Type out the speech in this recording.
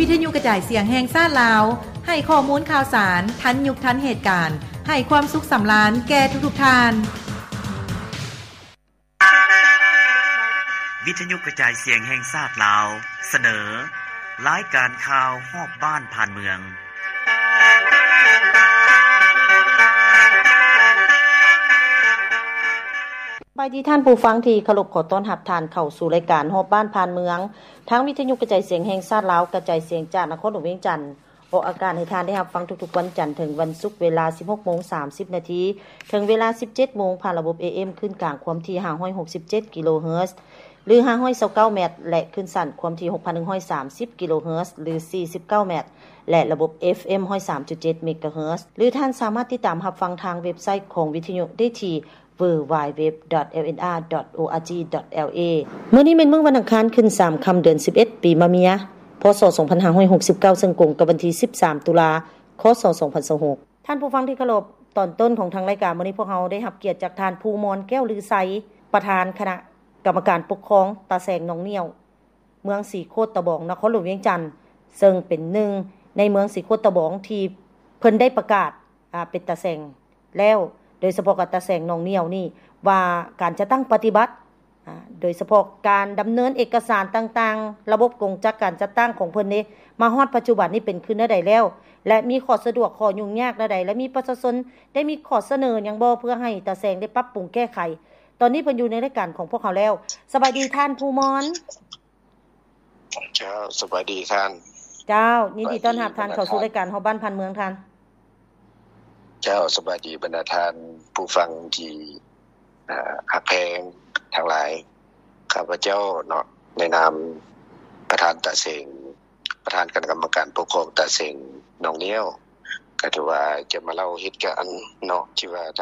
ວິທະຍຸກະຈາຍສຽງແຫ່ງຊາດລາວ ໃຫ້ຂໍ້ມູນຂ່າວສານທັນຍຸກທັນເຫດການ, ໃຫ້ຄວາມສຸກສຳລານແກ່ທຸກໆທ່ານ. ວິທະຍຸກະຈາຍສຽງແຫ່ງຊາດລາວ ສະເໜີ ລາຍການຂ່າວຮອບບ້ານຜ່ານເມືອງ. ສະບາຍດີທ່ານຜູ້ຟັງທີ່ເຄົາລົບ, ຂໍຕ້ອນຮັບທ່ານເຂົ້າສູ່ລາຍການຮອບບ້ານຜ່ານເມືອງ ທາງວິທະຍຸກະຈາຍສຽງແຫ່ງຊາດລາວ ກະຈາຍສຽງຈາກນະຄອນຫຼວງວຽງຈັນ. ອອກອາກາດໃຫ້ທ່ານໄດ້ຮັບຟັງທຸກໆວັນຈັນເຖິງວັນສຸກ ເວລາສິບຫົກໂມງສາມສິບນາທີ ເຖິງເວລາສິບເຈັດໂມງ ຜ່ານລະບົບ ເອເອັມ ຄື້ນກາງຄວາມຖີ່ຫ້າຮ້ອຍຫົກສິບເຈັດກິໂລເຮີດ ຫຼື ຫ້າຮ້ອຍຊາວເກົ້າແມັດ ແລະ ຄື້ນສັ້ນຄວາມຖີ່ຫົກພັນໜຶ່ງຮ້ອຍສາມສິບກິໂລເຮີດ ຫຼື ສີ່ສິບເກົ້າແມັດ ແລະ ລະບົບ ເອຟເອັມ ຮ້ອຍສາມຈຸດເຈັດເມກາເຮີດ ຫຼື ທ່ານສາມາດຕິດຕາມຮັບຟັງທາງເວັບໄຊຂອງວິທະຍຸໄດ້ທີ່ ดัບເບິນຢູດັບເບິນຢູດັບເບິນຢູດັບເບິນຢູ ດອດ ເອລເອັນອາ ດອດ ໂອອາຈີ ດອດ ແອລເອ. ມື້ນີ້ແມ່ນມື້ວັນອັງຄານ ຂຶ້ນສາມຄ່ຳ ເດືອນສິບເອັດ ປີມະເມຍ ພ.ສ. ສອງພັນຫ້າຮ້ອຍຫົກສິບເກົ້າ ເຊິ່ງກົງກັບວັນທີສິບສາມ ຕຸລາ ຄ.ສ. ສອງພັນຊາວຫົກ. ທ່ານຜູ້ຟັງທີ່ເຄົາລົບ, ຕອນຕົ້ນຂອງທາງລາຍການມື້ນີ້ ພວກເຮົາໄດ້ຮັບກຽດຈາກທ່ານ ພູມອນ ແກ້ວລືໄຊ, ປະທານຄະນະກຳມະການປົກຄອງຕາແສງໜອງໜ້ຽວ ເມືອງສີໂຄດຕະບອງ ນະຄອນຫຼວງວຽງຈັນ, ເຊິ່ງເປັນໜຶ່ງໃນເມືອງສີໂຄດຕະບອງທີ່ເພິ່ນໄດ້ປະກາດ ອາ ເປັນຕາແສງແລ້ວ, ໂດຍສະເພາະກັບຕາແສງໜອງໜ້ຽວນີ້ ວ່າການຈັດຕັ້ງປະຕິບັດ ອາ ໂດຍສະເພາະການດຳເນີນເອກະສານຕ່າງໆ, ລະບົບກົງຈັກການຈັດຕັ້ງຂອງເພິ່ນເດ ມາຮອດປັດຈຸບັນນີ້ເປັນຄືແນວໃດແລ້ວ ແລະ ມີຂໍ້ສະດວກ ຂໍ້ຫຍຸ້ງຍາກແນວໃດ ແລະ ມີປະຊາຊົນໄດ້ມີຂໍ້ສະເໜີຫຍັງບໍ່ ເພື່ອໃຫ້ຕາແສງໄດ້ປັບປຸງແກ້ໄຂ? ຕອນນີ້ເພິ່ນຢູ່ໃນລາຍການຂອງພວກເຮົາແລ້ວ. ສະບາຍດີທ່ານ ພູມອນ. ເຈົ້າ ສະບາຍດີທ່ານ. ເຈົ້າ ຍິນດີຕ້ອນຮັບທ່ານເຂົ້າສູ່ລາຍການຮອບບ້ານຜ່ານເມືອງທ່ານ. ເຈົ້າ ສະບາຍດີບັນດາທ່ານຜູ້ຟັງທີ່ ເອີ ຮັກແພງທັງຫຼາຍ. ຂ້າພະເຈົ້າເນາະ ໃນນາມປະທານຕາເສັງ ປະທານຄະນະກຳມະການປົກຄອງຕາເສັງໜອງໜ້ຽວ ກໍຖືວ່າຈະມາເລົ່າເຫດການເນາະ ທີ່ວ່າ